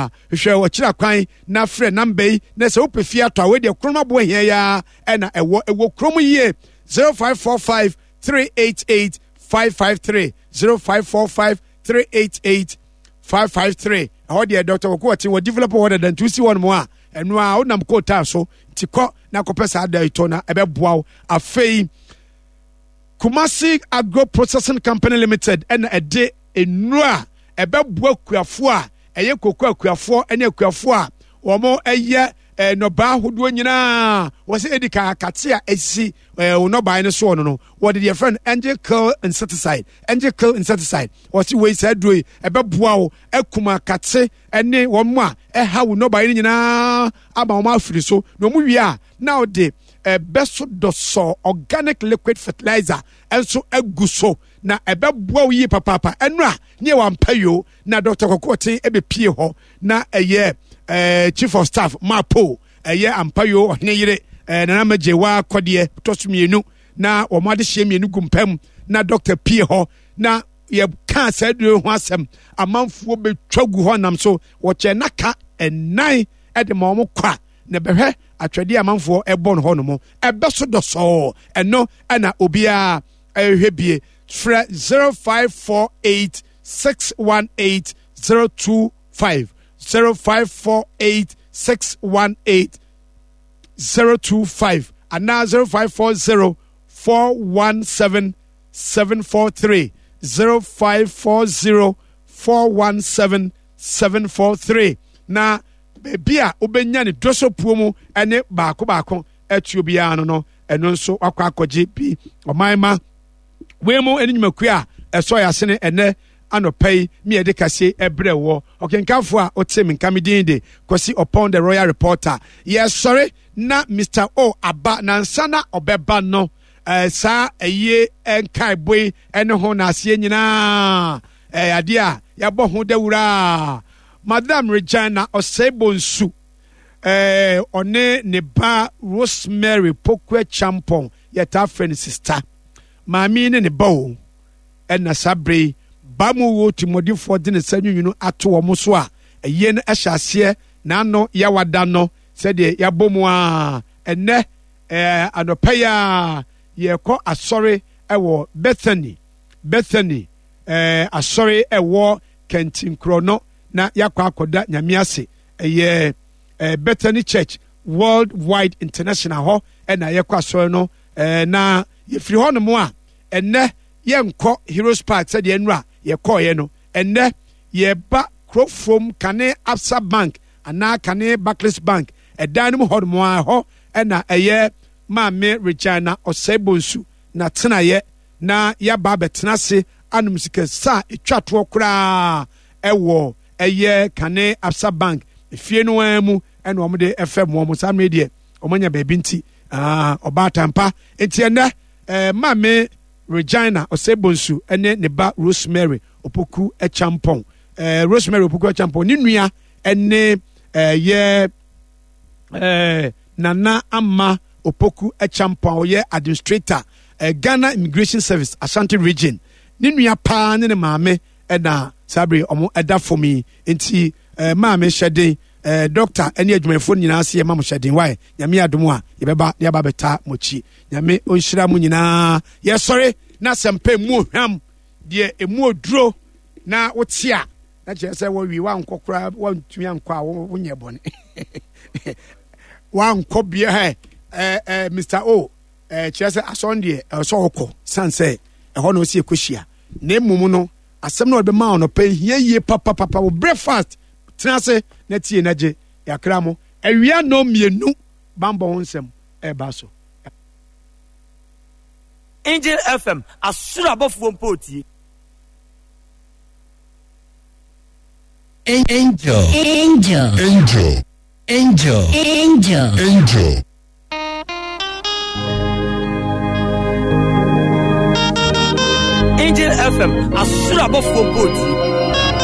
paa. Hwehwɛ ɔkyerɛ kwan na frɛ namba yi na sɛ wopɛ fie atɔ a wei deɛ kurom aboɔ hia yi ara ɛna ɛwɔ ɛwɔ kurom yie 0545 388 553 0545 388 553 ɛhɔ deɛ Dr. Koko ɔte wɔ develop hɔ dada nti wosi hɔ nom a ɛno a wonam kootaa so nti kɔ na kɔpɛ saa da yi tɔ na ɛbɛboa wo afei Kumasi Agro Processing Company Limited ɛna ɛde nnuro a ɛbɛboa akuafoɔ a ɛyɛ koko akuafoɔ ne akuafoɔ a wɔn ɛyɛ eh, nnɔbaa ahodoɔ nyinaa wɔsɛ ɛdi ka akate a ɛsi eh, wɔn nnɔbaeɛ no soɔ no no wɔde deɛ fɛn angel kill insecticide angel kill insecticide wɔsi wei saa duro yi ɛbɛboa wo akum akate ne wɔn a ɛha wo nnɔbaeɛ no nyinaa ama wɔn afiri so na wɔn wie a na wɔde ɛbɛso dɔsɔ organic liquid fertilizer nso agu so na ɛbɛboa wo yie papaapa ɛno a ne yɛ wampa yoo na Dr. Kwaku Ɔten ɛbɛpie hɔ na ɛyɛ eh, chief of staff mapo ɛyɛ ampa yoo ɔhene yere eh, nana magye wa kɔdeɛ tɔ so mmienu na wɔn adehyeɛ mmienu gu mpam na dɔkta pie hɔ na yɛkaa saa duro ho asɛm amanfoɔ bɛtwa gu hɔ nam so wɔkyɛ naka ɛnan ɛde ma wɔn kwa na bɛhwɛ atwɛdeɛ amanfoɔ ɛbɔ no hɔ nom ɛbɛ so dɔsɔɔ ɛno ɛna obiara ɛhwɛ bie frɛ 0548 618 025 0548 618 025 anaa 0540 417 743 0540 417 743 na baabi a wobɛnya ne dɔsɔpuo mu ne baako baako atuo biara no no ɛno nso wakɔ akɔgye bi ɔman ma wei mu ne nnwumakuo a ɛsɔ yɛ asene ɛnɛ anɔpa yi mi yɛde kasie ɛbrɛ wɔ ɔkenkanfo a ɔte me nka me din de Kwasi Ɔpɔn the Royal Reporter yɛsɔre na Mr. O aba nansa na ɔbɛba no ɛɛ saa ɛyie nkaebɔ yi ɛne ho n'aseɛ nyinaa ɛyɛ adeɛ a yɛabɔ ho dawuraa Madam Regina Osei Bonsu ɛɛ ɔne ne ba Rosemary Pokua Champon yɛtaa frɛ no sista maame yi ne ne ba o ɛna saa bere yi ba mu wo timɔdenfoɔ de ne nsa nwunwunu ato wɔn so a ɛyie no ɛhyɛ aseɛ n'ano yawada no sɛdeɛ yɛabɔ mu a ɛnɛ ɛɛ anɔpa yi a yɛkɔ asɔre ɛwɔ Bethany Bethany ɛɛ asɔre ɛwɔ Kɛntinkorɔ no na yɛakɔ akɔda Nyame ase ɛyɛ ɛɛ Bethany Church World Wide International hɔ ɛna yɛkɔ asɔre no ɛɛ na yɛfiri hɔ nom a ɛnɛ yɛnkɔ Heroes Park sɛdeɛ nnura yɛkɔɔyɛ no ɛnɛ yɛba Kurofrom kane Absa Bank anaa kane Barclays Bank ɛdan no mu hɔ nom a ɛhɔ ɛna ɛyɛ Maame Regina Osei Bonsu na tenaeɛ na yɛaba abɛtena ase anom sika sa a ɛtwa toɔ koraa ɛwɔ ɛyɛ kane Absa Bank efie no ara mu ɛna wɔn de ɛfɛ mu wɔn saa mmiri deɛ wɔn anya baabi nti ɔbaatan pa nti ɛnɛ ɛɛ maame Regina Osei-Bonsu ɛne ne ba Rosemary Opoku Acheampong ɛɛ Rosemary Opoku Acheampong ne nua ɛne ɛyɛ ɛɛ Nana Ama Opoku Acheampong a ɔyɛ administrator ɛɛ Ghana Immigration Service Ashanti Region ne nua paa ne ne maame ɛna saa bere wɔn ɛda fam yi nti ɛɛ maame hyɛ den ɛɛ dɔkta ɛne adwumayɛfoɔ nyinaa se yɛma mo hyɛ den wae nyame adom a yɛbɛba na yɛaba bɛta mo akyi nyame ɔnhyira mo nyinaa yɛsɔre na asɛmpa emu ohwam deɛ emu oduro na wote a na kyerɛ sɛ wɔwie wankɔ koraa wantumi ankɔ a wonyɛ bɔne wankɔ bia ɛ ɛ Mr. O ɛ kyerɛ sɛ asɔn deɛ ɛwɔ sɛ ɔkɔ san sɛ ɛhɔ na ɔsi ɛkɔhyia na mmom no asɛm na ɔde bɛma ɔnɔpɛ hia yie papapapa wo breakfast tena ase na tie na gye yɛakra mo awia nnɔ mmienu bambɔ ho nsɛm ɛreba so. Angel FM, asoro abɔfoɔ mpo retie. Angel. Angel. Angel. Angel. Angel. Angel. Angel FM, asoro abɔfoɔ mpo retie.